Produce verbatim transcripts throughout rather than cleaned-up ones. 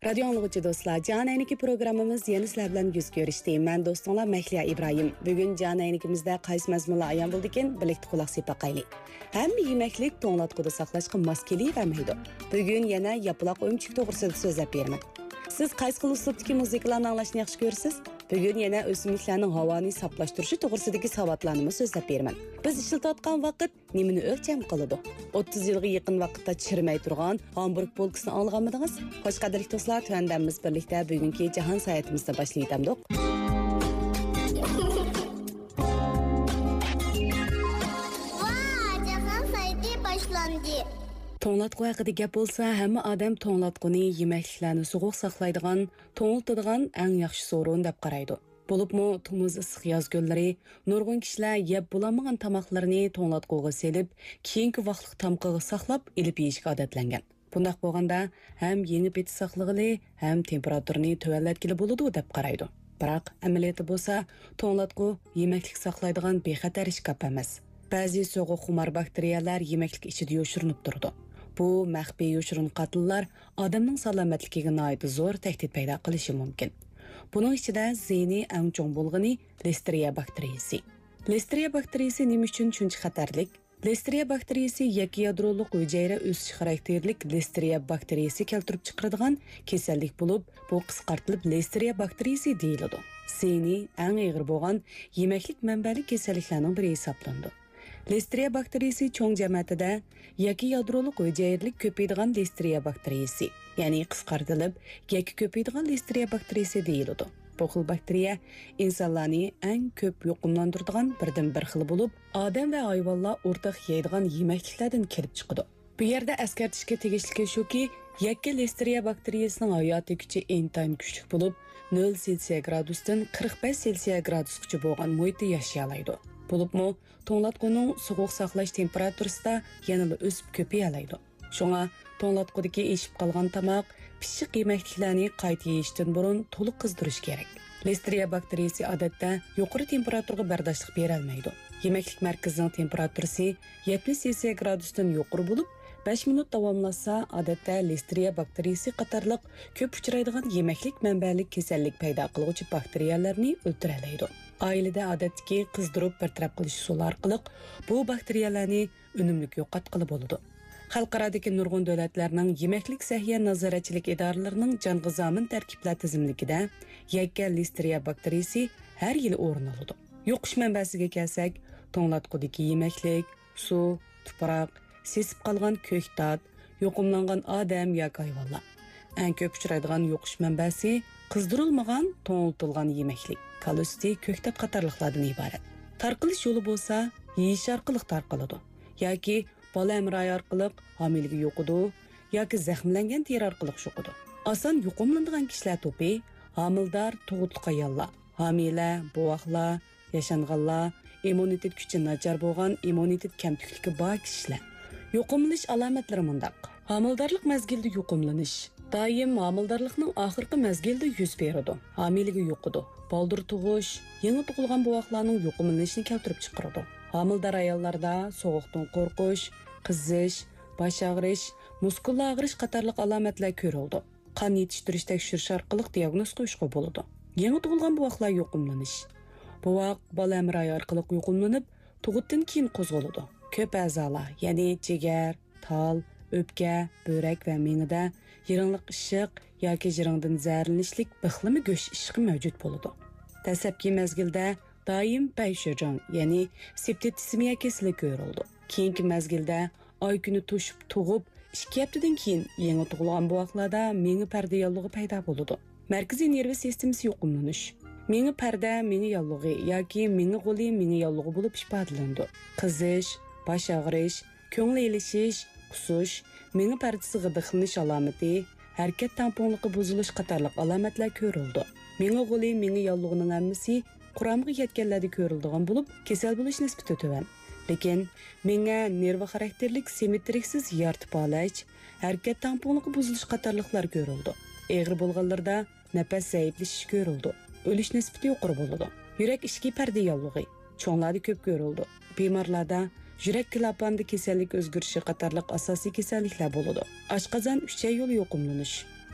رادىيو ئاڭلىغۇچى دوستلار، جان ئەينىكى پروگراممىمىز يەنە سىلەر بىلەن يۈز كۆرۈشتى. مەن دوستۇڭلار مەھلىيا ئىبراھىم. بۈگۈن جان ئەينىكىمىزدە قايسى مەزمۇنلار ئايان بولىدىكىن، بىرلىكتە قۇلاق سېلىپ باقايلى. ھەممە يېمەكلىك توڭلاتقۇدا ساقلاشقا ماس كېلىۋەرمەيدۇ. بۈگۈن يەنە ياپىلاق ئۆمۈچۈك توغرىسىدا سۆزلەپ بېرىمەن. سىز قايسى خىل ئۇسلۇبتىكى مۇزىكىلارنى ئاڭلاشنى ياخشى كۆرىسىز؟ بۈگۈن يەنە ئۆسۈملۈكلەرنىڭ ھاۋانى ساپلاشتۇرۇشى توغرىسىدىكى ساۋاتلارنىمۇ سۆزلەپ بېرىمەن. بىز ئىشلىتىۋاتقان ۋاقىت نېمىنى ئۆلچەم قىلىدۇ؟ ئوتتۇز يىلغا يېقىن ۋاقىتتا چىرىمەي تۇرغان ھامبۇرگ بولكىسىنى ئاڭلىغانمىدىڭىز؟ خوش، قەدىرلىك دوستلار، تۆۋەندە بىز بىرلىكتە بۈگۈنكى جاھان ساياھىتىمىزنى باشلىۋېتەمدۇق. ۋاي، جاھان ساياھىتى باشلاندى. توڭلاتقۇ ھەققىدە گەپ بولسا، ھەممە ئادەم توڭلاتقۇنى يېمەكلىكلەرنى سوغۇق ساقلايدىغان، توڭلىتىدىغان ئەڭ ياخشى سورۇن دەپ قارايدۇ. بولۇپمۇ تومۇز ئىسسىق ياز كۈنلىرى نۇرغۇن كىشىلەر يەپ بولالمىغان تاماقلىرىنى توڭلاتقۇغا سېلىپ، كېيىنكى ۋاقىتلىق تامىقىغا ساقلاپ ئېلىپ يېيىشكە ئادەتلەنگەن. بۇنداق بولغاندا ھەم يېڭى پېتى ساقلىغىلى، ھەم تېمپېراتۇرىنى تۆۋەنلەتكىلى بولىدۇ دەپ قارايدۇ. بىراق ئەمەلىيەتتە بولسا، توڭلاتقۇ يېمەكلىك ساقلايدىغان بىخەتەر ئىشكاپ ئەمەس. بەزى سوغۇق خۇمار باكتېرىيەلەر يېمەكلىك ئىچىدە يوشۇرۇنۇپ تۇرىدۇ. بۇ مەخپىي يوشۇرۇن قاتىللار ئادەمنىڭ سالامەتلىكىگە ناھايىتى زور تەھدىت پەيدا قىلىشى مۇمكىن. بۇنىڭ ئىچىدە زىيىنى ئەڭ چوڭ بولغىنى لىستېرىيە باكتېرىيىسى. لىستېرىيە باكتېرىيىسى نېمە ئۈچۈن شۇنچە خەتەرلىك؟ لىستېرىيە باكتېرىيىسى يەككە يادرولۇق ھۈجەيرە ئۆسۈشى خاراكتېرلىك لىستېرىيە باكتېرىيىسى كەلتۈرۈپ چىقىرىدىغان كېسەللىك بولۇپ، بۇ قىسقارتىلىپ لىستېرىيە باكتېرىيىسى دېيىلىدۇ. زىيىنى ئەڭ ئېغىر بولغان يېمەكلىك مەنبەلىك كېسەللىكلەرنىڭ بىرى ھېسابلىنىدۇ. لىستېرىيە باكتېرىيىسى چوڭ جەمەتىدە يەككە يادرولۇق ھۈجەيرىلىك كۆپىيىدىغان لىستېرىيە باكتېرىيىسى، يەنى قىسقارتىلىپ يەككە كۆپىيىدىغان لىستېرىيە باكتېرىيىسى دېيىلىدۇ. بۇ خىل باكتېرىيە ئىنسانلارنى ئەڭ كۆپ يۇقۇملاندۇرىدىغان بىردىنبىر خىلى بولۇپ، ئادەم ۋە ھايۋانلار ئورتاق يەيدىغان يېمەكلىكلەردىن كېلىپ چىقىدۇ. بۇ يەردە ئەسكەرتىشكە تېگىشلىكى شۇكى، يەككە لىستېرىيە باكتېرىيىسىنىڭ ھاياتىي كۈچى ئىنتايىن كۈچلۈك بولۇپ، نۆل سېلسىيە گرادۇستىن قىرىق بەش سېلسىيە گرادۇسقىچە بولغان مۇھىتتا ياشىيالايدۇ. بولۇپمۇ، توڭلاتقۇنىڭ سوغۇق ساقلاش تېمپېراتۇرىسىدا يەنىلا ئۆسۈپ كۆپىيەلەيدۇ. شۇڭا توڭلاتقۇدىكى ئېشىپ قالغان تاماق، پىششىق يېمەكلىكلەرنى قايتا يېيىشتىن بۇرۇن تولۇق قىزدۇرۇش كېرەك. لىستېرىيە باكتېرىيىسى ئادەتتە يۇقىرى تېمپېراتۇرىغا بەرداشلىق بېرەلمەيدۇ. يېمەكلىك مەركىزىنىڭ تېمپېراتۇرىسى يەتمىش سېلسىيە گرادۇستىن يۇقىرى بولۇپ، بەش مىنۇت داۋاملاشسا، ئادەتتە لىستېرىيە باكتېرىيىسى قاتارلىق كۆپ ئۇچرايدىغان يېمەكلىك مەنبەلىك كېسەللىك پەيدا قىلغۇچى باكتېرىيەلەرنى ئۆلتۈرەلەيدۇ. ئائىلىدە ئادەتتىكى قىزدۇرۇپ بىر تەرەپ قىلىش ئۇسۇلى ئارقىلىق بۇ باكتېرىيەلەرنى ئۈنۈملۈك يوقاتقىلى بولىدۇ. خەلقئارادىكى نۇرغۇن دۆلەتلەرنىڭ يېمەكلىك سەھىيە نازارەتچىلىك ئىدارىلىرىنىڭ جانغا زامىن تەركىبلەر تىزىملىكىدە يەككە لىستېرىيە باكتېرىيىسى ھەر يىلى ئورۇن ئالىدۇ. يۇقۇش مەنبەسىگە كەلسەك، توڭلاتقۇدىكى يېمەكلىك، سۇ، تۇپراق، سېسىپ قالغان كۆكتات، يۇقۇملانغان ئادەم ياكى ھايۋانلار. ئەڭ كۆپ ئۇچرايدىغان يۇقۇش مەنبەسى قىزدۇرۇلمىغان، توڭلىتىلغان يېمەكلىك، كالا سۈتى، كۆكتات قاتارلىقلاردىن ئىبارەت. تارقىلىش يولى بولسا يېيىش ئارقىلىق تارقىلىدۇ ياكى بالا ھەمراھى ئارقىلىق ھامىلىگە يۇقىدۇ ياكى زەخىملەنگەن تېرە ئارقىلىق يۇقىدۇ. ئاسان يۇقۇملىنىدىغان كىشىلەر توپى ھامىلىدار، تۇغۇتلۇق ئاياللار، ھامىلە، بوۋاقلار، ياشانغانلار، ئىممۇنىتېت كۈچى ناچار بولغان، ئىممۇنىتېت كەمتۈكلۈكى بار كىشىلەر. يۇقۇملىنىش ئالامەتلىرى مۇنداق. ھامىلىدارلىق مەزگىلىدە يۇقۇملىنىش. دائىم ھامىلىدارلىقنىڭ ئاخىرقى مەزگىلىدە يۈز بېرىدۇ. ھامىلىگە يۇقىدۇ. بالدۇر تۇغۇش، يېڭى تۇغۇلغان بوۋاقلارنىڭ يۇقۇملىنىشىنى كەلتۈرۈپ چىقىرىدۇ. ھامىلىدار ئاياللاردا سوغۇقتىن قورقۇش، قىزىش، باش ئاغرىش، مۇسكۇللار ئاغرىش قاتارلىق ئالامەتلەر كۆرۈلىدۇ. قان يېتىشتۈرۈش تەكشۈرۈش ئارقىلىق دىياگنوز قويۇشقا بولىدۇ. يېڭى تۇغۇلغان بوۋاقلار يۇقۇملىنىش. بوۋاق بالا ھەمراھى ئارقىلىق يۇقۇملىنىپ، تۇغۇتتىن كېيىن قوزغىلىدۇ. كۆپ ئەزالار، يەنى جىگەر، تال، ئۆپكە، بۆرەك ۋە مېڭىدە يىرىڭلىق ئىششىق ياكى يىرىڭدىن زەھەرلىنىشلىك بىخلىما گۆش ئىششىقى مەۋجۇت بولىدۇ. دەسلەپكى مەزگىلدە دائىم پەيشۆجاڭ، يەنى سېپتىتسېمىيە كېسىلى كۆرۈلىدۇ. كېيىنكى مەزگىلدە ئاي كۈنى توشۇپ تۇغۇپ، ئىككى ھەپتىدىن كېيىن يېڭى تۇغۇلغان بوۋاقلاردا مېڭە پەردە ياللۇغى پەيدا بولىدۇ. مەركىزىي نېرۋا سىستېمىسى يۇقۇملىنىش. مېڭە پەردە مېڭە ياللۇغى ياكى مېڭە غولى مېڭە ياللۇغى بولۇپ ئىپادىلىنىدۇ. قىزىش، باش ئاغرىش، كۆڭۈل ئېلىشىش، قۇسۇش، مېڭە پەردىسى غىدىقلىنىش ئالامىتى، ھەرىكەت تەڭپۇڭلۇقى بۇزۇلۇش قاتارلىق ئالامەتلەر كۆرۈلىدۇ. مېڭە غولى مېڭە ياللۇغىنىڭ ھەممىسى قۇرامىغا يەتكەنلەردە كۆرۈلىدىغان بولۇپ، كېسەل بولۇش نىسبىتى تۆۋەن. لېكىن مېڭە نېرۋا خاراكتېرلىك سىممېترىكسىز يارتىپ پالەچ، ھەرىكەت تەڭپۇڭلۇقى بۇزۇلۇش قاتارلىقلار كۆرۈلىدۇ. ئېغىر بولغانلىرىدا نەپەس زەئىپلىشىش كۆرۈلىدۇ. ئۆلۈش نىسبىتى يۇقىرى بولىدۇ. يۈرەك ئىچكى پەردە ياللۇغى چوڭلاردا كۆپ كۆرۈلىدۇ. بىمارلاردا يۈرەك كىلاپانىدا كېسەللىك ئۆزگىرىشى قاتارلىق ئاساسىي كېسەللىكلەر بولىدۇ. ئاشقازان ئۈچەي يولى يۇقۇملىنىش.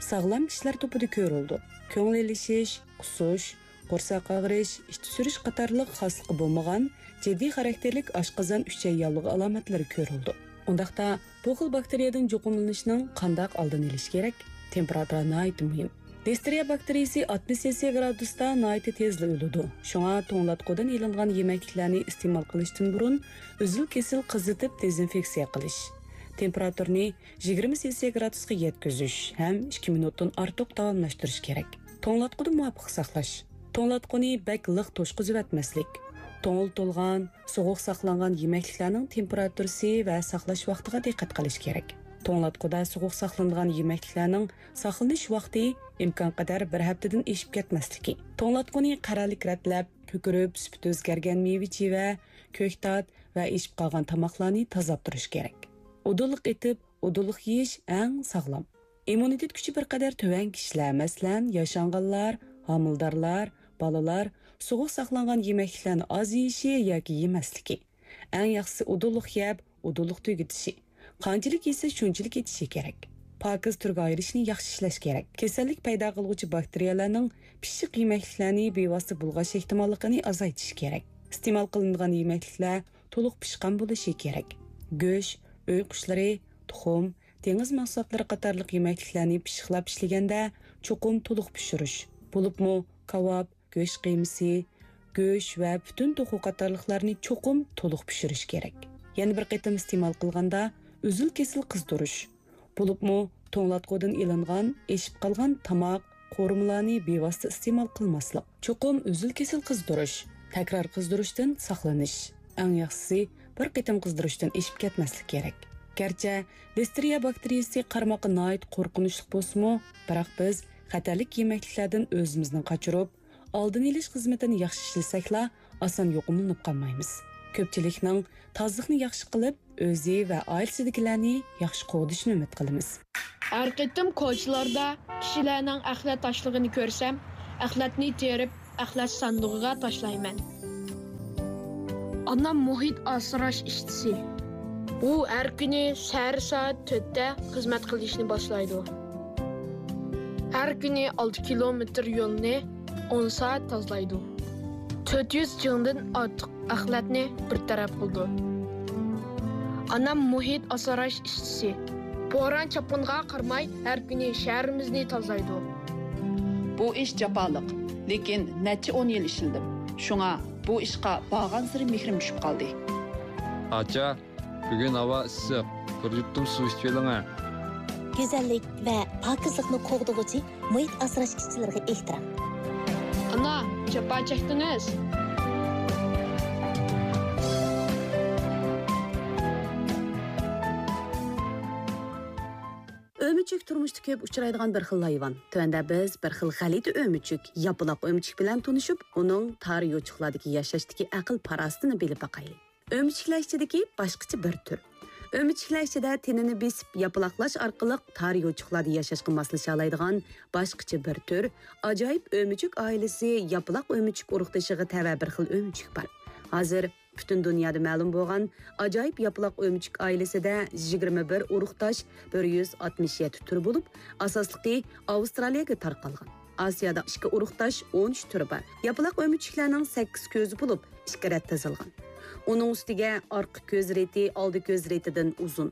ساغلام كىشىلەر توپىدا كۆرۈلىدۇ. كۆڭۈل ئېلىشىش، قۇسۇش، قورساق ئاغرىش، ئىچ سۈرۈش قاتارلىق خاسلىقى بولمىغان جىددىي خاراكتېرلىك ئاشقازان ئۈچەي ياللۇغى ئالامەتلىرى كۆرۈلىدۇ. ئۇنداقتا، بۇ خىل باكتېرىيەدىن يۇقۇملىنىشنىڭ قانداق ئالدىنى ئېلىش كېرەك؟ تېمپېراتۇرا ناھايىتى مۇھىم. لىستېرىيە باكتېرىيىسى ئاتمىش سېلسىيە گرادۇستا ناھايىتى تېزلا ئۆلىدۇ. شۇڭا توڭلاتقۇدىن ئېلىنغان يېمەكلىكلەرنى ئىستېمال قىلىشتىن بۇرۇن ئۈزۈل-كېسىل قىزىتىپ دېزىنفېكسىيە قىلىش، تېمپېراتۇرىنى يىگىرمە سېلسىيە گرادۇسقا يەتكۈزۈش ھەم ئىككى مىنۇتتىن ئارتۇق داۋاملاشتۇرۇش كېرەك. توڭلاتقۇنى مۇۋاپىق ساقلاش. توڭلاتقۇنى بەك لىق توشقۇزۇۋەتمەسلىك. توڭلىتىلغان، سوغۇق ساقلانغان يېمەكلىكلەرنىڭ تېمپېراتۇرىسى ۋە ساقلاش ۋاقتىغا دىققەت قىلىش كېرەك. توڭلاتقۇدا سوغۇق ساقلىنىدىغان يېمەكلىكلەرنىڭ ساقلىنىش ۋاقتى ئىمكانقەدەر بىر ھەپتىدىن ئېشىپ كەتمەسلىكى. توڭلاتقۇنى قەرەللىك رەتلەپ، كۆكىرىپ، سۈپىتى ئۆزگەرگەن مېۋە-چىۋە، كۆكتات ۋە ئېشىپ قالغان تاماقلارنى تازىلاپ تۇرۇش كېرەك. ئۇدۇللۇق ئېتىپ، ئۇدۇللۇق يېيىش ئەڭ ساغلام. ئىممۇنىتېت كۈچى بىر قەدەر تۆۋەن كىشىلەر، مەسىلەن، ياشانغانلار، ھامىلىدارلار، بالىلار سوغۇق ساقلانغان يېمەكلىكلەرنى ئاز يېيىشى ياكى يېمەسلىكى. ئەڭ ياخشىسى ئۇدۇللۇق يەپ، ئۇدۇللۇق تۈگىتىشى. قانچىلىك يېسە، شۇنچىلىك ئېتىشى كېرەك. پاكىز تۈرگە ئايرىشنى ياخشى ئىشلەش كېرەك. كېسەللىك پەيدا قىلغۇچى باكتېرىيەلەرنىڭ پىششىق يېمەكلىكلەرنى بىۋاسىتە بۇلغاش ئېھتىماللىقىنى ئازايتىش كېرەك. ئىستېمال قىلىنىدىغان يېمەكلىكلەر تولۇق پىشقان بولۇشى كېرەك. گۆش، ئۆي قۇشلىرى، تۇخۇم، دېڭىز مەھسۇلاتلىرى قاتارلىق يېمەكلىكلەرنى پىششىقلاپ ئىشلىگەندە چوقۇم تولۇق پىشۇرۇش، بولۇپمۇ كاۋاپ، گۆش قىيمىسى، گۆش ۋە پۈتۈن توخۇ قاتارلىقلارنى چوقۇم تولۇق پىشۇرۇش كېرەك. يەنە بىر قېتىم ئىستېمال قىلغاندا ئۈزۈل-كېسىل قىزدۇرۇش، بولۇپمۇ توڭلاتقۇدىن ئېلىنغان ئېشىپ قالغان تاماق، قورۇمىلارنى بىۋاسىتە ئىستېمال قىلماسلىق. چوقۇم ئۈزۈل-كېسىل قىزدۇرۇش، تەكرار قىزدۇرۇشتىن ساقلىنىش. ئەڭ ياخشىسى، بىر قېتىم قىزدۇرۇشتىن ئېشىپ كەتمەسلىك كېرەك. گەرچە لىستېرىيە باكتېرىيىسى قارىماققا ناھايىتى قورقۇنچلۇق بولسىمۇ، بىراق بىز خەتەرلىك يېمەكلىكلەردىن ئۆزىمىزنى قاچۇرۇپ، ئالدىنى ئېلىش خىزمىتىنى ياخشى ئىشلىسەكلا، ئاسان يۇقۇملىنىپ قالمايمىز. كۆپچىلىكنىڭ تازىلىقنى ياخشى قىلىپ، ئۆزى ۋە ئائىلىسىدىكىلەرنى ياخشى قوغدىشىنى ئۈمىد قىلىمىز. ھەر قېتىم كوچىلاردا كىشىلەرنىڭ ئەخلەت تاشلىغىنى كۆرسەم، ئەخلەتنى تېرىپ، ئەخلەت ساندۇقىغا تاشلايمەن. ئانام مۇھىت ئاسراش ئىشچىسى. ئۇ ھەر كۈنى سەھەر سائەت تۆتتە خىزمەت قىلىشنى باشلايدۇ. ھەر كۈنى ئالتە كىلومېتىر يولنى ئون سائەت تازىلايدۇ. تۆت يۈز جىڭدىن ئارتۇق ئەخلەتنى بىر تەرەپ قىلىدۇ. ئانام مۇھىت ئاسراش ئىشچىسى. بوران-چاپقۇنغا قارىماي، ھەر كۈنى شەھىرىمىزنى تازىلايدۇ. بۇ ئىش جاپالىق، لېكىن نەچچە ئون يىل ئىشلىدىم. شۇڭا بۇ ئىشقا بارغانسېرى مېھرىم چۈشۈپ قالدى. ئاچا، بۈگۈن ھاۋا ئىسسىق، بىر يۇتۇم سۇ ئىچىۋېلىڭە. گۈزەللىك ۋە پاكىزلىقنى قوغدىغۇچى مۇھىت ئاسراش ئىشچىلىرىغا ئېھتىرام. ئانا، جاپا چەكتىڭىز. ئۆمۈچۈك تۇرمۇشتا كۆپ ئۇچرايدىغان بىر خىل ھايۋان. تۆۋەندە بىز بىر خىل غەلىتە ئۆمۈچۈك، ياپىلاق ئۆمۈچۈك بىلەن تونۇشۇپ، ئۇنىڭ تار يوچۇقلاردىكى ياشاشتىكى ئەقىل-پاراسىتىنى بىلىپ باقايلى. ئۆمۈچۈكلەر ئىچىدىكى باشقىچە بىر تۈر. ئۆمۈچۈكلەر ئىچىدە تېنىنى بېسىپ ياپىلاقلاش ئارقىلىق تار يوچۇقلاردا ياشاشقا ماسلىشالايدىغان باشقىچە بىر تۈر، ئاجايىپ ئۆمۈچۈك ئائىلىسى ياپىلاق ئۆمۈچۈك ئۇرۇقدىشىغا تەۋە بىر خىل ئۆمۈچۈك بار. ھازىر پۈتۈن دۇنيادا مەلۇم بولغان ئاجايىپ ياپىلاق ئۆمۈچۈك ئائىلىسىدە يىگىرمە بىر ئۇرۇقداش، بىر يۈز ئاتمىش يەتتە تۈر بولۇپ، ئاساسلىقى ئاۋسترالىيەگە تارقالغان. ئاسىيادا ئىككى ئۇرۇقداش، ئون ئۈچ تۈرى بار. ياپىلاق ئۆمۈچۈكلەرنىڭ سەككىز كۆزى بولۇپ، ئىككى رەت تىزىلغان. ئۇنىڭ ئۈستىگە ئارقا كۆز رېتى ئالدى كۆز رېتىدىن ئۇزۇن.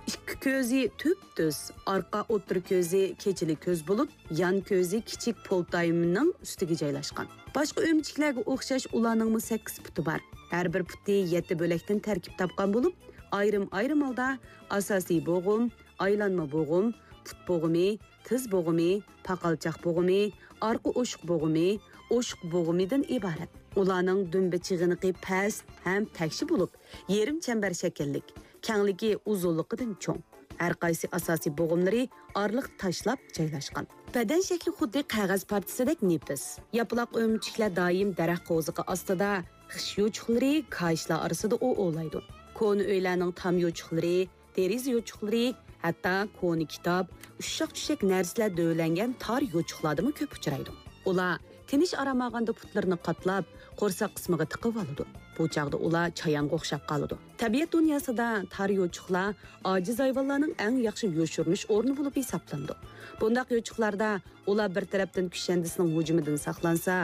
ئىككى كۆزى تۈپتۈز، ئارقا ئوتتۇرا كۆزى كېچىلىك كۆز بولۇپ، يان كۆزى كىچىك پولتايمنىڭ ئۈستىگە جايلاشقان. باشقا ئۆمۈچۈكلەرگە ئوخشاش ئۇلارنىڭمۇ سەككىز پۇتى بار. ھەر بىر پۇتى يەتتە بۆلەكتىن تەركىب تاپقان بولۇپ، ئايرىم-ئايرىم ھالدا ئاساسىي بوغۇم، ئايلانما بوغۇم، پۇت بوغۇمى، تىز بوغۇمى، پاقالچاق بوغۇمى، ئارقا ئوشۇق بوغۇمى، ئوشۇق بوغۇمىدىن ئىبارەت. ئۇلارنىڭ دۈمبە چىغىنىقى پەس ھەم تەكشى بولۇپ، يېرىم چەمبەر شەكىللىك، كەڭلىكى ئۇزۇنلۇقىدىن چوڭ. ھەر قايسى ئاساسىي بوغۇملىرى ئارىلىقتا تاشلاپ جايلاشقان. بەدەن شەكلى خۇددى قەغەز پارچىسىدەك نېپىز. ياپىلاق ئۆمۈچۈكلەر دائىم دەرەخ قوۋزىقى ئاستىدا، خىش يوچۇقلىرى، كاھىشلار ئارىسىدا ئوۋلايدۇ. كونا ئۆيلەرنىڭ تام يوچۇقلىرى، دېرىزە يوچۇقلىرى، ھەتتا كونا كىتاب، ئۇششاق-چۈششەك نەرسىلەر دۆۋىلەنگەن تار يوچۇقلاردىمۇ كۆپ ئۇچرايدۇ. ئۇلار تىنچ ئارام ئالغاندا پۇتلىرىنى قاتلاپ، قورساق قىسمىغا تىقىۋالىدۇ. بۇ چاغدا ئۇلار چايانغا ئوخشاپ قالىدۇ. تەبىئەت دۇنياسىدا تار يوچۇقلار ئاجىز ھايۋانلارنىڭ ئەڭ ياخشى يوشۇرۇنۇش ئورنى بولۇپ ھېسابلىنىدۇ. بۇنداق يوچۇقلاردا ئۇلار بىر تەرەپتىن كۈشەندىسىنىڭ ھۇجۇمىدىن ساقلانسا،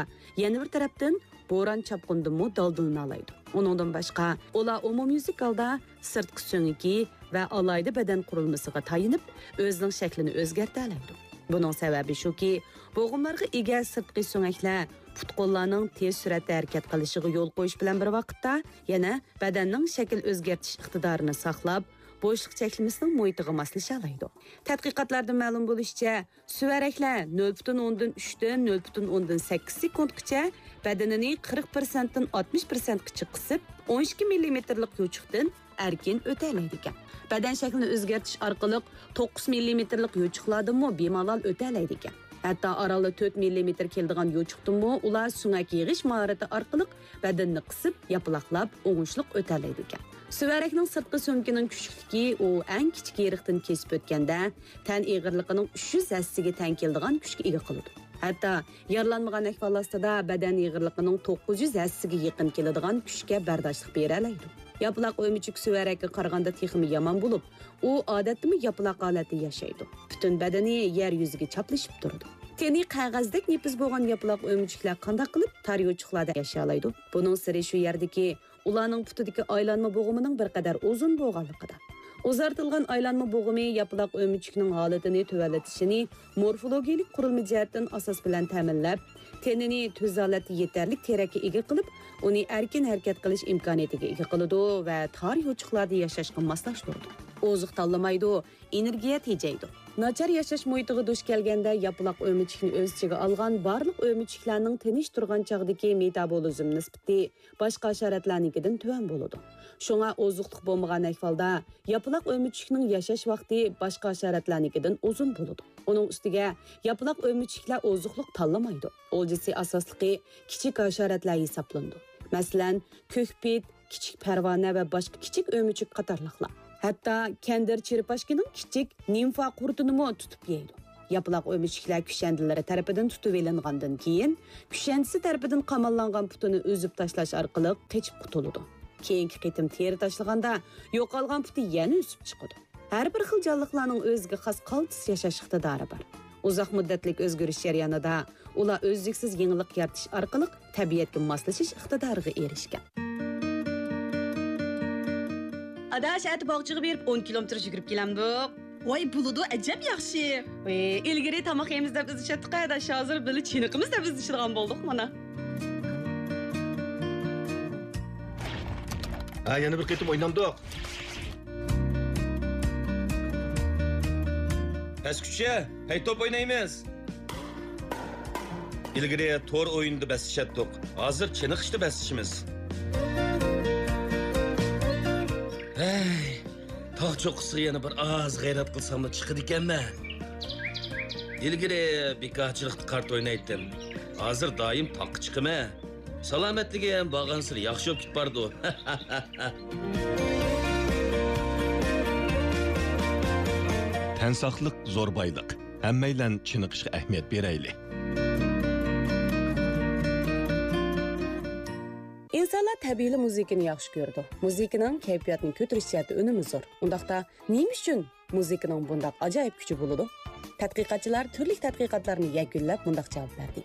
يەنە بىر تەرەپتىن بوران-چاپقۇندىنمۇ دالدىلىنالايدۇ. ئۇنىڭدىن باشقا، ئۇلار ئومۇميۈزلۈك ھالدا سىرتقى سۆڭىكى ۋە ئالاھىدە بەدەن قۇرۇلمىسىغا تايىنىپ، ئۆزىنىڭ شەكلىنى ئۆزگەرتەلەيدۇ. بۇنىڭ سەۋەبى شۇكى، بوغۇملارغا ئىگە سىرتقى سۆڭەكلەر پۇت-قوللارنىڭ تېز سۈرئەتتە ھەرىكەت قىلىشىغا يول قويۇش بىلەن بىر ۋاقىتتا، يەنە بەدەننىڭ شەكىل ئۆزگەرتىش ئىقتىدارىنى ساقلاپ، بوشلۇق چەكلىمىسىنىڭ مۇھىتىغا ماسلىشالايدۇ. تەتقىقاتلاردىن مەلۇم بولۇشىچە، سۈۋەرەكلەر نۆل پۈتۈن ئوندىن ئۈچتىن نۆل پۈتۈن ئوندىن سەككىز سېكۇنتقىچە بەدىنىنى قىرىق پىرسەنتتىن ئاتمىش پىرسەنتقىچە قىسىپ، ئون ئىككى مىللىمېتىرلىق يوچۇقتىن ئەركىن ئۆتەلەيدىكەن. بەدەن شەكلىنى ئۆزگەرتىش ئارقىلىق توققۇز مىللىمېتىرلىق يوچۇقلاردىنمۇ بىمالال ئۆتەلەيدىكەن. ھەتتا ئارانلا تۆت مىللىمېتىر كېلىدىغان يوچۇقتىنمۇ ئۇلار سۆڭەك يىغىش ماھارىتى ئارقىلىق بەدىنىنى قىسىپ، ياپىلاقلاپ، ئوڭۇشلۇق ئۆتەلەيدىكەن. سۈۋەرەكنىڭ سىرتقى سۆڭىكىنىڭ كۈچلۈكلۈكى ئۇ ئەڭ كىچىك يېرىقتىن كېسىپ ئۆتكەندە، تەن ئېغىرلىقىنىڭ ئۈچ يۈز ھەسسىگە تەڭ كېلىدىغان كۈچكە ئىگە قىلىدۇ. ھەتتا يارىلانمىغان ئەھۋال ئاستىدا بەدەن ئېغىرلىقىنىڭ توققۇز يۈز ھەسسىگە يېقىن كېلىدىغان كۈچكە بەرداشلىق بېرەلەيدۇ. ياپىلاق ئۆمۈچۈك سۈۋەرەككە قارىغاندا تېخىمۇ يامان بولۇپ، ئۇ ئادەتتىمۇ ياپىلاق ھالەتتە ياشايدۇ. پۈتۈن بەدىنى يەر يۈزىگە چاپلىشىپ تۇرىدۇ. تېنى قەغەزدەك نېپىز بولغان ياپىلاق ئۆمۈچۈكلەر قانداق قىلىپ تار يوچۇقلاردا ياشىيالايدۇ؟ بۇنىڭ سىرى شۇ يەردىكى، ئۇلارنىڭ پۇتىدىكى ئايلانما بوغۇمىنىڭ بىر قەدەر ئۇزۇن بولغانلىقىدا. ئۇزارتىلغان ئايلانما بوغۇمى ياپىلاق ئۆمۈچۈكنىڭ ھالىتىنى تۆۋەنلىتىشىنى مورفولوگىيەلىك قۇرۇلما جەھەتتىن ئاساس بىلەن تەمىنلەپ، تېنىنى تۈز ھالەتتە يېتەرلىك تېرەككە ئىگە قىلىپ، ئۇنى ئەركىن ھەرىكەت قىلىش ئىمكانىيىتىگە ئىگە قىلىدۇ ۋە تار يوچۇقلاردا ياشاشقا ماسلاشتۇرىدۇ. ئوزۇق تاللىمايدۇ، ئېنېرگىيە تېجەيدۇ. ناچار ياشاش مۇھىتىغا دۇچ كەلگەندە، ياپىلاق ئۆمۈچۈكنى ئۆز ئىچىگە ئالغان بارلىق ئۆمۈچۈكلەرنىڭ تىنچ تۇرغان چاغدىكى مېتابولىزم نىسبىتى باشقا ھاشاراتلارنىڭكىدىن تۆۋەن بولىدۇ. شۇڭا ئوزۇقلۇق بولمىغان ئەھۋالدا ياپىلاق ئۆمۈچۈكنىڭ ياشاش ۋاقتى باشقا ھاشاراتلارنىڭكىدىن ئۇزۇن بولىدۇ. ئۇنىڭ ئۈستىگە ياپىلاق ئۆمۈچۈكلەر ئوزۇقلۇق تاللىمايدۇ. ئولجىسى ئاساسلىقى كىچىك ھاشاراتلار ھېسابلىنىدۇ. مەسىلەن، كۆكپىت، كىچىك پەرۋانە ۋە باشقا كىچىك ئۆمۈچۈك قاتارلىقلار. ھەتتا كەندىر چېرپاشكىنىڭ كىچىك نىمفا قۇرتىنىمۇ تۇتۇپ يەيدۇ. ياپىلاق ئۆمۈچۈكلەر كۈشەندىلىرى تەرىپىدىن تۇتۇۋېلىنغاندىن كېيىن، كۈشەندىسى تەرىپىدىن قاماللانغان پۇتىنى ئۈزۈپ تاشلاش ئارقىلىق قېچىپ قۇتۇلىدۇ. كېيىنكى قېتىم تېرە تاشلىغاندا، يوقالغان پۇتى يەنە ئۆسۈپ چىقىدۇ. ھەر بىر خىل جانلىقلارنىڭ ئۆزىگە خاس قالتىس ياشاش ئىقتىدارى بار. ئۇزاق مۇددەتلىك ئۆزگىرىش جەريانىدا ئۇلار ئۈزلۈكسىز يېڭىلىق يارىتىش ئارقىلىق تەبىئەتكە ماسلىشىش ئىقتىدارىغا ئېرىشكەن. ئاداش، ئەتە باغچىغا بېرىپ ئون كىلومېتىر يۈگۈرۈپ كېلەمدۇق؟ ۋاي، بولىدۇ، ئەجەب ياخشى. ئىلگىرى تاماق يەيمىز دەپ ئىزدىشەتتۇق، ئاداش، ھازىر بىللە چېنىقىمىز دەپ ئىزدىشىدىغان بولدۇق مانا. ھە، يەنە بىر قېتىم ئوينامدۇق؟ پەسكۈچە، ھەي، توپ ئوينايمىز. ئىلگىرى تور ئويۇنىدا بەسلىشەتتۇق، ھازىر چېنىقىشتا بەسلىشىمىز. ھەي، تاغ چوققىسىغا يەنە بىر ئاز غەيرەت قىلساملا چىقىدىكەنمەن. ئىلگىرى بىكارچىلىقتا كارتا ئوينايتتىم، ھازىر دائىم تاغقا چىقىمەن. سالامەتلىكىم بارغانسېرى ياخشى بولۇپ كېتىپ بارىدۇ. تەن ساقلىق زور بايلىق. ھەممەيلەن چېنىقىشقا ئەھمىيەت بېرەيلى. ئىنسانلار تەبىئىيلا مۇزىكىنى ياخشى كۆرىدۇ. مۇزىكىنىڭ كەيپىياتنى كۆتۈرۈش جەھەتتە ئۈنۈمى زور. ئۇنداقتا نېمە ئۈچۈن مۇزىكىنىڭ بۇنداق ئاجايىپ كۈچى بولىدۇ؟ تەتقىقاتچىلار تۈرلۈك تەتقىقاتلارنى يەكۈنلەپ مۇنداق جاۋاب بەردى.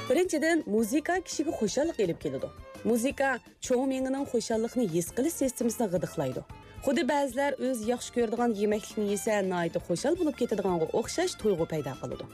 بىرىنچىدىن، مۇزىكا كىشىگە خۇشاللىق ئېلىپ كېلىدۇ. مۇزىكا چوڭ مېڭىنىڭ خۇشاللىقنى ھېس قىلىش سىستېمىسىنى غىدىقلايدۇ. خۇددى بەزىلەر ئۆزى ياخشى كۆرىدىغان يېمەكلىكنى يېسە، ناھايىتى خۇشال بولۇپ كېتىدىغانغا ئوخشاش تۇيغۇ پەيدا قىلىدۇ.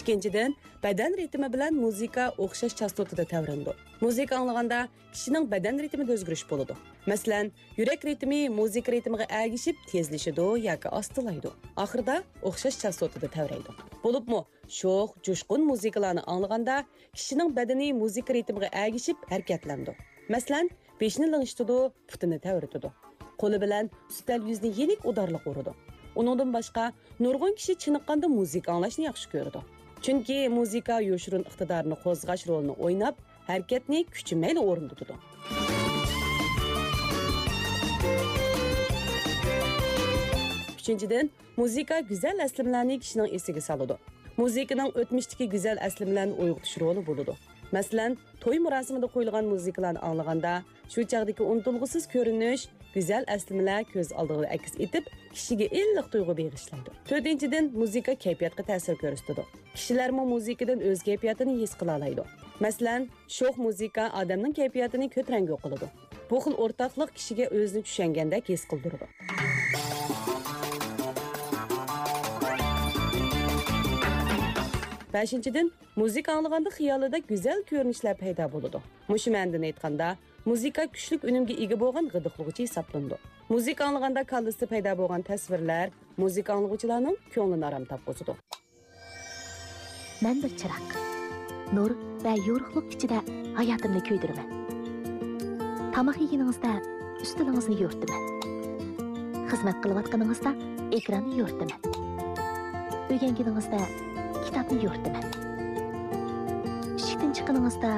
ئىككىنچىدىن، بەدەن رىتىمى بىلەن مۇزىكا ئوخشاش چاستوتىدا تەۋرىنىدۇ. مۇزىكا ئاڭلىغاندا كىشىنىڭ بەدەن رىتىمىدا ئۆزگىرىش بولىدۇ. مەسىلەن، يۈرەك رىتىمى مۇزىكا رىتىمىغا ئەگىشىپ تېزلىشىدۇ ياكى ئاستىلايدۇ. ئاخىرىدا ئوخشاش چاستوتىدا تەۋرەيدۇ. بولۇپمۇ شوخ، جۇشقۇن مۇزىكىلارنى ئاڭلىغاندا، كىشىنىڭ بەدىنى مۇزىكا رىتىمىغا ئەگىشىپ ھەرىكەتلىنىدۇ. مەسىلەن، بېشىنى لىڭشىتىدۇ، پۇتىنى تەۋرىتىدۇ. قولى بىلەن ئۈستەل يۈزىنى يېنىك ئۇدارلىق ئۇرىدۇ. ئۇنىڭدىن باشقا، نۇرغۇن كىشى چېنىققاندا مۇزىكا ئاڭلاشنى ياخشى كۆرىدۇ. چۈنكى مۇزىكا يوشۇرۇن ئىقتىدارنى قوزغاش رولىنى ئويناپ، ھەرىكەتنى كۈچىمەيلا ئورۇندىتىدۇ. ئۈچىنچىدىن، مۇزىكا گۈزەل ئەسلىمىلەرنى كىشىنىڭ ئېسىگە سالىدۇ. مۇزىكىنىڭ ئۆتمۈشتىكى گۈزەل ئەسلىمىلەرنى ئويغىتىش رولى بولىدۇ. مەسىلەن، توي مۇراسىمىدا قويۇلغان مۇزىكىلارنى ئاڭلىغاندا، شۇ چاغدىكى ئۇنتۇلغۇسىز كۆرۈنۈش، گۈزەل ئەسلىمىلەر كۆز ئالدىغا ئەكس ئېتىپ، كىشىگە ئىللىق تۇيغۇ بېغىشلايدۇ. تۆتىنچىدىن، مۇزىكا كەيپىياتقا تەسىر كۆرسىتىدۇ. كىشىلەرمۇ مۇزىكىدىن ئۆز كەيپىياتىنى ھېس قىلالايدۇ. مەسىلەن، شوخ مۇزىكا ئادەمنىڭ كەيپىياتىنى كۆتۈرەڭگۈ قىلىدۇ. بۇ خىل ئورتاقلىق كىشىگە ئۆزىنى چۈشەنگەندەك ھېس قىلدۇرىدۇ. بەشىنچىدىن، مۇزىكا ئاڭلىغاندا خىيالىدا گۈزەل كۆرۈنۈشلەر پەيدا بولىدۇ. مۇشۇ مەنىدىن ئېيتقاندا، مۇزىكا كۈچلۈك ئۈنۈمگە ئىگە بولغان غىدىقلىغۇچى ھېسابلىنىدۇ. مۇزىكا ئاڭلىغاندا كاللىسىدا پەيدا بولغان تەسۋىرلەر مۇزىكا ئاڭلىغۇچىلارنىڭ كۆڭلىنى ئارام تاپقۇزىدۇ. مەن بىر چىراغ. نۇر ۋە يورۇقلۇق ئىچىدە ھاياتىمنى كۆيدۈرىمەن. تاماق يېگىنىڭىزدە ئۈستىلىڭىزنى يورۇتىمەن. خىزمەت قىلىۋاتقىنىڭىزدا ئېكراننى يورۇتىمەن. ئۆگەنگىنىڭىزدە كىتابنى يورۇتىمەن. ئىشىكتىن چىققىنىڭىزدا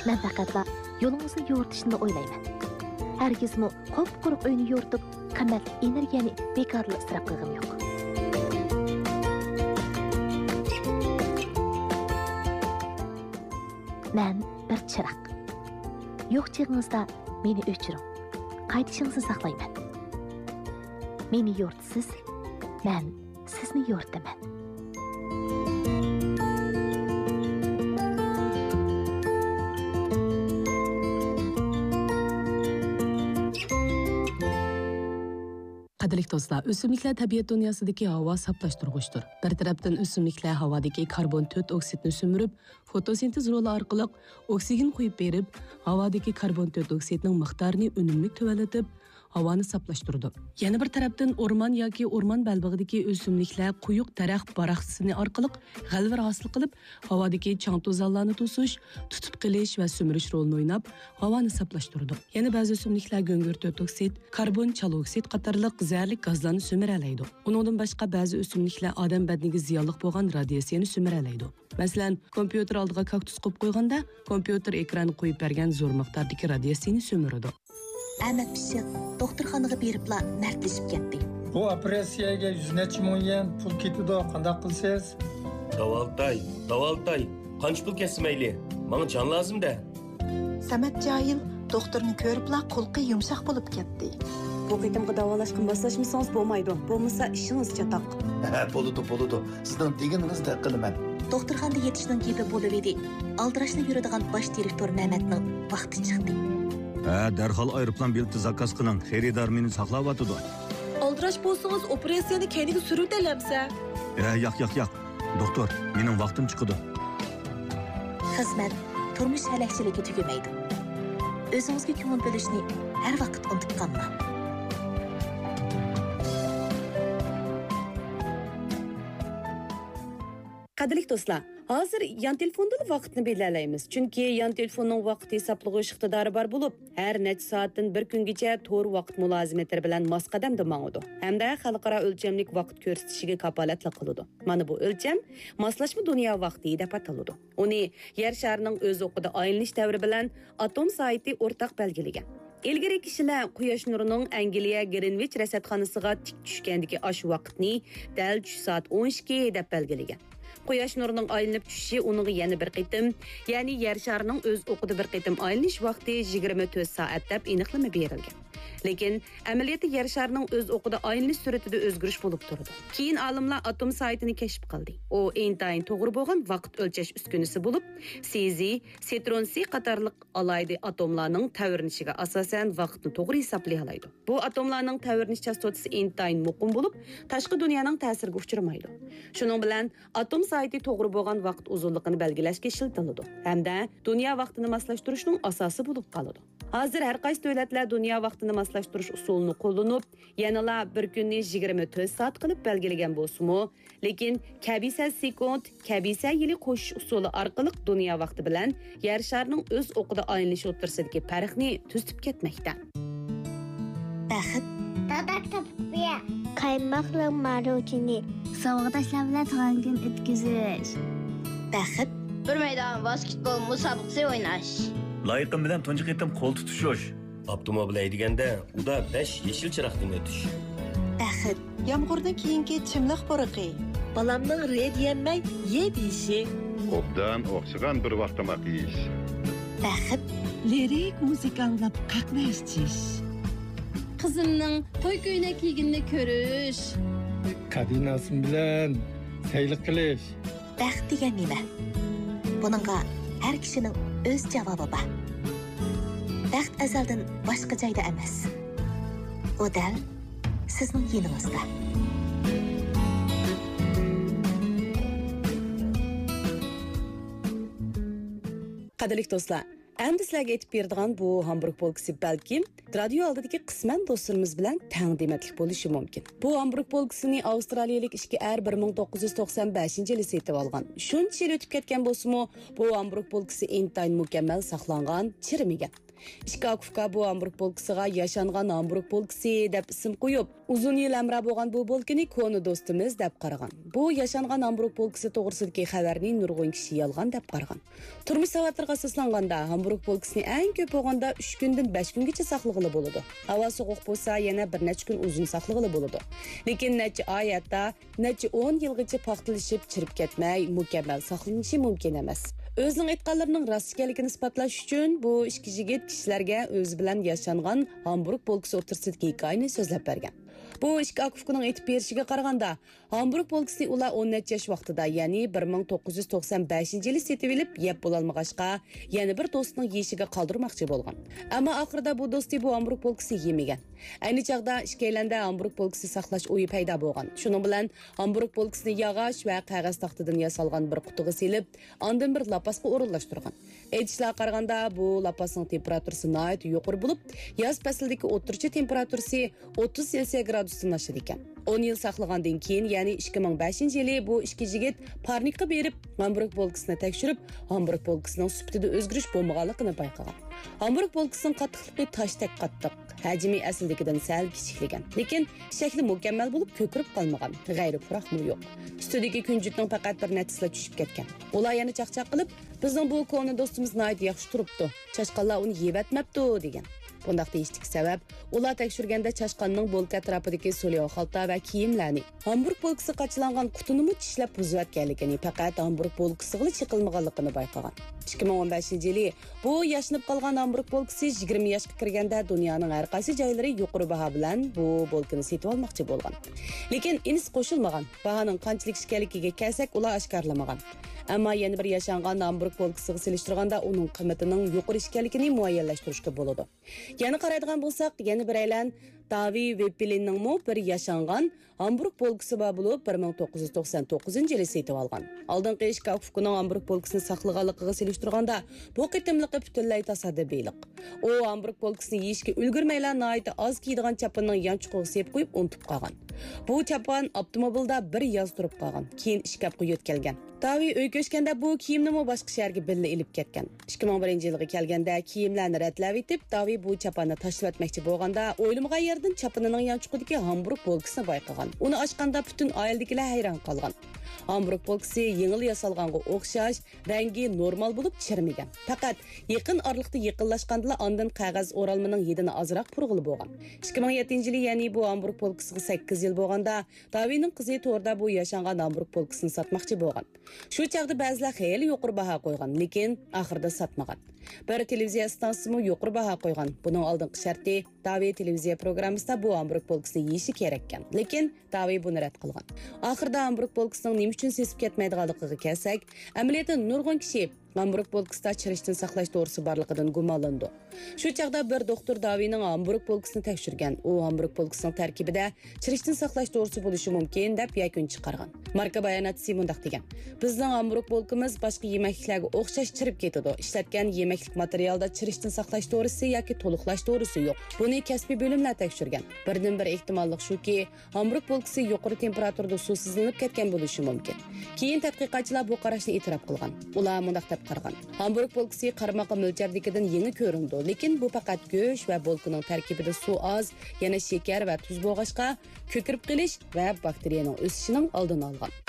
مەن پەقەتلا يولىڭىزنى يورۇتۇشنىلا ئويلايمەن. ھەرگىزمۇ قۇپقۇرۇق ئۆينى يورۇتۇپ، قىممەتلىك ئېنېرگىيەنى بىكارلا ئىسراپ قىلغۇم يوق. مەن بىر چىراغ. يوق چېغىڭىزدا مېنى ئۆچۈرۈڭ. قايتىشىڭىزنى ساقلايمەن. مېنى يورۇتىسىز، مەن سىزنى يورۇتىمەن. قەدىرلىك دوستلار، ئۆسۈملۈكلەر تەبىئەت دۇنياسىدىكى ھاۋا ساپلاشتۇرغۇچتۇر. بىر تەرەپتىن، ئۆسۈملۈكلەر ھاۋادىكى كاربون تۆت ئوكسىدنى سۈمۈرۈپ، فوتوسىنتېز رولى ئارقىلىق ئوكسىگېن قويۇپ بېرىپ، ھاۋادىكى كاربون تۆت ئوكسىدنىڭ مىقدارىنى ئۈنۈملۈك تۆۋەنلىتىپ، ھاۋانى ساپلاشتۇرىدۇ. يەنە بىر تەرەپتىن، ئورمان ياكى ئورمان بەلبېغىدىكى ئۆسۈملۈكلەر قويۇق دەرەخ باراقسىسىنى ئارقىلىق غەلۋىر ھاسىل قىلىپ، ھاۋادىكى چاڭ-توزانلارنى توسۇش، تۇتۇپ قېلىش ۋە سۈمۈرۈش رولىنى ئويناپ، ھاۋانى ساپلاشتۇرىدۇ. يەنە بەزى ئۆسۈملۈكلەر گۈڭگۈر تۆت ئوكسىد، كاربون چالا ئوكسىد قاتارلىق زەھەرلىك گازلارنى سۈمۈرەلەيدۇ. ئۇنىڭدىن باشقا، بەزى ئۆسۈملۈكلەر ئادەم بەدىنىگە زىيانلىق بولغان رادىياتسىيەنى سۈمۈرەلەيدۇ. مەسىلەن، كومپيۇتېر ئالدىغا كاكتۇس قويۇپ قويغاندا، كومپيۇتېر ئېكرانى قويۇپ بەرگەن زور مىقداردىكى رادىياتسىيەنى سۈمۈرىدۇ. ئەمەت پىششىق دوختۇرخانىغا بېرىپلا مەردلىشىپ كەتتى. بۇ ئوپېراتسىيەگە يۈز نەچچە مىڭ يۈەن پۇل كېتىدۇ، قانداق قىلىسىز؟ داۋالىتاي، داۋالىتاي، قانچە پۇل كەتسە مەيلى، ماڭا جان لازىم-دە. سەمەت جاھىل دوختۇرنى كۆرۈپلا قۇلىقى يۇمشاق بولۇپ كەتتى. بۇ قېتىمقى داۋالاشقا ماسلاشمىسىڭىز بولمايدۇ، بولمىسا ئىشىڭىز چاتاق. ھە، بولىدۇ، بولىدۇ. سىزنىڭ دېگىنىڭىزدەك قىلىمەن. دوختۇرخانىدا يېتىشنىڭ گېپى بولۇۋىدى. ئالدىراشلا يۈرىدىغان باش دىرېكتور مەمەتنىڭ ۋاقتى چىقتى. ھە، دەرھال ئايروپىلان بېلىتى زاكاز قىلىڭ، خېرىدار مېنى ساقلاۋاتىدۇ. ئالدىراش بولسىڭىز، ئوپېراتسىيەنى كەينىگە سۈرۈۋېتەلەمسە؟ ھە، ياق، ياق، ياق. دوختۇر، مېنىڭ ۋاقتىم چىقىدۇ. خىزمەت، تۇرمۇش ھەلەكچىلىكى تۈگىمەيدۇ. ئۆزىڭىزگە كۆڭۈل بۆلۈشنى ھەر ۋاقىت ئۇنتۇپ قالماڭ. قەدىرلىك دوستلار، ھازىر يان تېلېفوندىلا ۋاقىتنى بىلەلەيمىز، چۈنكى يان تېلېفوننىڭ ۋاقىت ھېسابلىغۇچ ئىقتىدارى بار بولۇپ، ھەر نەچچە سائەتتىن بىر كۈنگىچە تور ۋاقىت مۇلازىمەتلىرى بىلەن ماس قەدەمدە ماڭىدۇ ھەمدە خەلقئارا ئۆلچەملىك ۋاقىت كۆرسىتىشىگە كاپالەتلىك قىلىدۇ. مانا بۇ ئۆلچەم ماسلاشما دۇنيا ۋاقتى دەپ ئاتىلىدۇ. ئۇنى يەر شارىنىڭ ئۆز ئوقىدا ئايلىنىش دەۋرى بىلەن ئاتوم سائىتى ئورتاق بەلگىلىگەن. ئىلگىرى كىشىلەر قۇياش نۇرىنىڭ ئەنگلىيە گرىنۋىچ رەسەتخانىسىغا تىك چۈشكەندىكى ئاشۇ ۋاقىتنى دەل چۈش سائەت ئون ئىككى دەپ بەلگىلىگەن. قۇياش نۇرىنىڭ ئايلىنىپ چۈشۈشى ئۇنىڭغا يەنە بىر قېتىم، يەنى يەر شارىنىڭ ئۆز ئوقىدا بىر قېتىم ئايلىنىش ۋاقتى يىگىرمە تۆت سائەت دەپ ئېنىقلىما بېرىلگەن. لېكىن ئەمەلىيەتتە يەر شارىنىڭ ئۆز ئوقىدا ئايلىنىش سۈرئىتىدە ئۆزگىرىش بولۇپ تۇرىدۇ. كېيىن ئالىملار ئاتوم سائىتىنى كەشىپ قىلدى. ئۇ ئىنتايىن توغرا بولغان ۋاقىت ئۆلچەش ئۈسكۈنىسى بولۇپ، سىزى، سىترونسىي قاتارلىق ئالاھىدە ئاتوملارنىڭ تەۋرىنىشىگە ئاساسەن ۋاقىتنى توغرا ھېسابلىيالايدۇ. بۇ ئاتوملارنىڭ تەۋرىنىش چاستوتىسى ئىنتايىن مۇقىم بولۇپ، تاشقى دۇنيانىڭ تەسىرىگە ئۇچرىمايدۇ. شۇنىڭ بىلەن ئاتوم سائىتى توغرا بولغان ۋاقىت ئۇزۇنلۇقىنى بەلگىلەشكە ئىشلىتىلىدۇ ھەمدە دۇنيا ۋاقتىنى ماسلاشتۇرۇشنىڭ ئاساسى بولۇپ قالىدۇ. ھازىر ھەر قايسى دۆلەتلەر دۇنيا ۋاقتىنى ماسلاشتۇرۇش ئۇسۇلىنى قوللىنىپ، يەنىلا بىر كۈننى يىگىرمە تۆت سائەت قىلىپ بەلگىلىگەن بولسىمۇ، لېكىن كەبىسە سېكۇنت، كەبىسە يىلى قوشۇش ئۇسۇلى ئارقىلىق دۇنيا ۋاقتى بىلەن يەر شارىنىڭ ئۆز ئوقىدا ئايلىنىشى ئوتتۇرىسىدىكى پەرقنى تۈزىتىپ كەتمەكتە. بەخت. دادا كىتاب ئوقۇيا. قايماقلىق ماروژنى. ساۋاقداشلار بىلەن تۇغان كۈن ئۆتكۈزۈش. بەخت. بىر مەيدان ۋاسكېتبول مۇسابىقىسى ئويناش. لايىقىم بىلەن تۇنجى قېتىم قول تۇتۇشۇش. ئاپتوموبىل ھەيدىگەندە ئۇدا بەش يېشىل چىراغدىن ئۆتۈش. بەخت. يامغۇردىن كېيىنكى چىملىق پۇرىقى. بالامنىڭ رې دېيەلمەي يې دېيىشى. ئوبدان ئوخشىغان بىر ۋاق تاماق يېيىش. بەخت. لىرىك مۇزىكا ئاڭلاپ قەھۋە ئىچىش. قىزىمنىڭ توي كۆينەك كىيگىنىنى كۆرۈش. كابىناسىم بىلەن سەيلە قىلىش. بەخت دېگەن نېمە؟ بۇنىڭغا ھەر كىشىنىڭ ئۆز جاۋابى بار. بەخت ئەزەلدىن باشقا جايدا ئەمەس. ئۇ دەل سىزنىڭ يېنىڭىزدا. قەدىرلىك دوستلار، ئەمدى سىلەرگە ئېيتىپ بېرىدىغان بۇ ھامبۇرگ پولكىسى بەلكىم رادىيو ئالدىدىكى قىسمەن دوستلىرىمىز بىلەن تەڭ دېمەتلىك بولۇشى مۇمكىن. بۇ ھامبۇرگ پولكىسىنى ئاۋسترالىيەلىك ئىككى ئەر بىر مىڭ توققۇز يۈز توقسان بەشىنچى يىلى سېتىۋالغان. شۇنچە يىل ئۆتۈپ كەتكەن بولسىمۇ، بۇ ھامبۇرگ پولكىسى ئىنتايىن مۇكەممەل ساقلانغان، چىرىمىگەن. ئىككى ئاكا-ئۇكا بۇ ھامبۇرگ پولكىسىغا ياشانغان ھامبۇرگ پولكىسى دەپ ئىسىم قويۇپ، ئۇزۇن يىل ھەمراھ بولغان بۇ بولكىنى كونا دوستىمىز دەپ قارىغان. بۇ ياشانغان ھامبۇرگ پولكىسى توغرىسىدىكى خەۋەرنى نۇرغۇن كىشى يالغان دەپ قارىغان. تۇرمۇش ساۋاتلىرىغا ئاساسلانغاندا، ھامبۇرگ پولكىسىنى ئەڭ كۆپ بولغاندا ئۈچ كۈندىن بەش كۈنگىچە ساقلىغىلى بولىدۇ. ھاۋا سوغۇق بولسا، يەنە بىر نەچچە كۈن ئۇزۇن ساقلىغىلى بولىدۇ. لېكىن نەچچە ئاي، ھەتتا نەچچە ئون يىلغىچە پاختىلىشىپ، چىرىپ كەتمەي، مۇكەممەل ساقلىنىشى مۇمكىن ئەمەس. ئۆزىنىڭ ئېيتقانلىرىنىڭ راست ئىكەنلىكىنى ئىسپاتلاش ئۈچۈن، بۇ ئىككى يىگىت كىشىلەرگە ئۆزى بىلەن ياشانغان ھامبۇرگ پولكىسى ئوتتۇرىسىدىكى ھېكايىنى سۆزلەپ بەرگەن. بۇ ئىككى ئاكا-ئۇكىنىڭ ئېيتىپ بېرىشىگە قارىغاندا، ھامبۇرگ پولكىسىنى ئۇلار ئون نەچچە ياش ۋاقتىدا، يەنى بىر مىڭ توققۇز يۈز توقسان بەشىنچى يىلى سېتىۋېلىپ، يەپ بولالمىغاچقا، يەنە بىر دوستىنىڭ يېيىشىگە قالدۇرماقچى بولغان. ئەمما ئاخىرىدا بۇ دوستى بۇ ھامبۇرگ پولكىسىنى يېمىگەن. ئەينى چاغدا ئىككىيلەندە ھامبۇرگ پولكىسى ساقلاش ئويى پەيدا بولغان. شۇنىڭ بىلەن ھامبۇرگ پولكىسىنى ياغاچ ۋە قەغەز تاختىدىن ياسالغان بىر قۇتىغا سېلىپ، ئاندىن بىر لاپاسقا ئورۇنلاشتۇرغان. ئېيتىشلارغا قارىغاندا، بۇ لاپاسنىڭ تېمپېراتۇرىسى ناھايىتى يۇقىرى بولۇپ، ياز پەسلىدىكى ئوتتۇرىچە تېمپېراتۇرىسى ئوتتۇز سېلسىيە گرادۇستىن ئاشىدىكەن. ئون يىل ساقلىغاندىن كېيىن، يەنى ئىككى مىڭ بەشىنچى يىلى بۇ ئىككى يىگىت پارنىكقا بېرىپ، ھامبۇرگ پولكىسىنى تەكشۈرۈپ، ھامبۇرگ پولكىسىنىڭ سۈپىتىدە ئۆزگىرىش بولمىغانلىقىنى بايقىغان. ھامبۇرگ پولكىسىنىڭ قاتتىقلىقى تاشتەك قاتتىق، ھەجمى ئەسلىدىكىدىن سەل كىچىكلىگەن، لېكىن شەكلى مۇكەممەل بولۇپ، كۆكىرىپ قالمىغان، غەيرىي پۇراقمۇ يوق. ئۈستىدىكى كۈنجۈتنىڭ پەقەت بىر نەچچىسىلا چۈشۈپ كەتكەن. ئۇلار يەنە چاقچاق قىلىپ، بىزنىڭ بۇ كونا دوستىمىز ناھايىتى ياخشى تۇرۇپتۇ، چاشقانلار ئۇنى يېۋەتمەپتۇ، دېگەن. بۇنداق دېيىشتىكى سەۋەب، ئۇلار تەكشۈرگەندە چاشقاننىڭ بولكا ئەتراپىدىكى سولياۋ خالتا ۋە كىيىملەرنى، ھامبۇرگ بولكىسى قاچىلانغان قۇتىنىمۇ چىشلەپ بۇزۇۋەتكەنلىكىنى، پەقەت ھامبۇرگ بولكىسىغىلا چېقىلمىغانلىقىنى بايقىغان. ئىككى مىڭ ئون بەشىنچى يىلى بۇ ياشىنىپ قالغان ھامبۇرگ بولكىسى يىگىرمە ياشقا كىرگەندە دۇنيانىڭ ھەر قايسى جايلىرى يۇقىرى باھا بىلەن بۇ بولكىنى سېتىۋالماقچى بولغان. لېكىن ئىنىسى قوشۇلمىغان. باھانىڭ قانچىلىك ئىكەنلىكىگە كەلسەك، ئۇلار ئاشكارىلىمىغان. ئەمما يەنە بىر ياشانغان ھامبۇرگ بولكىسىغا سېلىشتۇرغاندا ئۇنىڭ قىممىتىنىڭ يۇقىرى ئىكەنلىكىنى مۇئەييەنلەشتۈرۈشكە بولىدۇ. يەنە قارايدىغان بولساق، يەنە بىرەيلەن داۋى ۋېپپېلىننىڭمۇ بىر ياشانغان ھامبۇرگ بولكىسى بار بولۇپ، بىر مىڭ توققۇز يۈز توقسان توققۇزىنچى يىلى سېتىۋالغان. ئالدىنقى ئىككى ئاكا-ئۇكىنىڭ ھامبۇرگ بولكىسىنى ساقلىغانلىقىغا سېلىشتۇرغاندا، بۇ قېتىملىقى پۈتۈنلەي تاسادىپىيلىق. ئۇ ھامبۇرگ بولكىسىنى يېيىشكە ئۈلگۈرمەيلا، ناھايىتى ئاز كىيىدىغان چاپىنىنىڭ يانچۇقىغا سېلىپ قويۇپ ئۇنتۇپ قالغان. بۇ چاپان ئاپتوموبىلدا بىر ياز تۇرۇپ قالغان، كېيىن ئىشكاپقا يۆتكەلگەن. داۋى ئۆيگە كۆچكەندە بۇ كىيىمنىمۇ باشقا شەھەرگە بىللە ئېلىپ كەتكەن. ئىككى مىڭ بىرىنچى يىلغا كەلگەندە كىيىملەرنى رەتلەۋېتىپ، داۋى بۇ چاپاننى تاشلىۋەتمەكچى بولغاندا، ئويلىمىغان يەردىن چاپىنىنىڭ يانچۇقىدىكى ھامبۇرگ بولكىسىنى بايقىغان. ئۇنى ئاچقاندا پۈتۈن ئائىلىدىكىلەر ھەيران قالغان. ھامبۇرگ بولكىسى يېڭىلا ياسالغانغا ئوخشاش، رەڭگى نورمال بولۇپ چىرىمىگەن. پەقەت يېقىن ئارىلىقتا يېقىنلاشقاندىلا ئاندىن قەغەز ئورالمىنىڭ ھىدىنى ئازراق پۇرىغىلى بولغان. ئىككى مىڭ يەتتىنچى يىلى، يەنى بۇ ھامبۇرگ بولكىسىغا سەككىز يىل بولغاندا، داۋىنىڭ قىزى توردا بۇ ياشانغان ھامبۇرگ بولكىسىنى ساتماقچى بولغان. شۇ چاغدا بەزىلەر خېلى يۇقىرى باھا قويغان، لېكىن ئاخىرىدا ساتمىغان. بىر تېلېۋىزىيە ئىستانسىسىمۇ يۇقىرى باھا قويغان. بۇنىڭ ئالدىنقى شەرتى، داۋى تېلېۋىزىيە پروگراممىسىدا بۇ ھامبۇرگ بولكىسىنى يېيىشى كېرەككەن. لېكىن داۋى بۇنى رەت قىلغان. ئاخىرىدا ھامبۇرگ بولكىسىنىڭ نېمە ئۈچۈن سېسىپ كەتمەيدىغانلىقىغا كەلسەك، ئەمەلىيەتتە نۇرغۇن كىشى ھامبۇرگ بولكىسىدا چىرىشتىن ساقلاش دورىسى بارلىقىدىن گۇمانلىنىدۇ. شۇ چاغدا بىر دوختۇر داۋىنىڭ ھامبۇرگ بولكىسىنى تەكشۈرگەن. ئۇ ھامبۇرگ بولكىسىنىڭ تەركىبىدە چىرىشتىن ساقلاش دورىسى بولۇشى مۇمكىن، دەپ يەكۈن چىقارغان. ماركا باياناتچىسى مۇنداق دېگەن: بىزنىڭ ھامبۇرگ بولكىمىز باشقا يېمەكلىكلەرگە ئوخشاش چىرىپ كېتىدۇ. ئىشلەتكەن يېمەكلىك ماتېرىيالىدا چىرىشتىن ساقلاش دورىسى ياكى تولۇقلاش دورىسى يوق. بۇنى كەسپىي بۆلۈملەر تەكشۈرگەن. بىردىنبىر ئېھتىماللىق شۇكى، ھامبۇرگ بولكىسى يۇقىرى تېمپېراتۇرىدا سۇسىزلىنىپ كەتكەن بولۇشى مۇمكىن. كېيىن تەتقىقاتچىلار بۇ قاراشنى ئېتىراپ قىلغان. ئۇلار مۇنداق دەپ قارىغان: ھامبۇرگ بولكىسى قارىماققا مۆلچەردىكىدىن يېڭى كۆرۈنىدۇ، لېكىن بۇ پەقەت گۆش ۋە بولكىنىڭ تەركىبىدە سۇ ئاز، يەنە شېكەر ۋە تۇز بولغاچقا، كۆكىرىپ قېلىش ۋە باكتېرىيەنىڭ ئۆسۈشىنىڭ ئالدىنى ئالغان.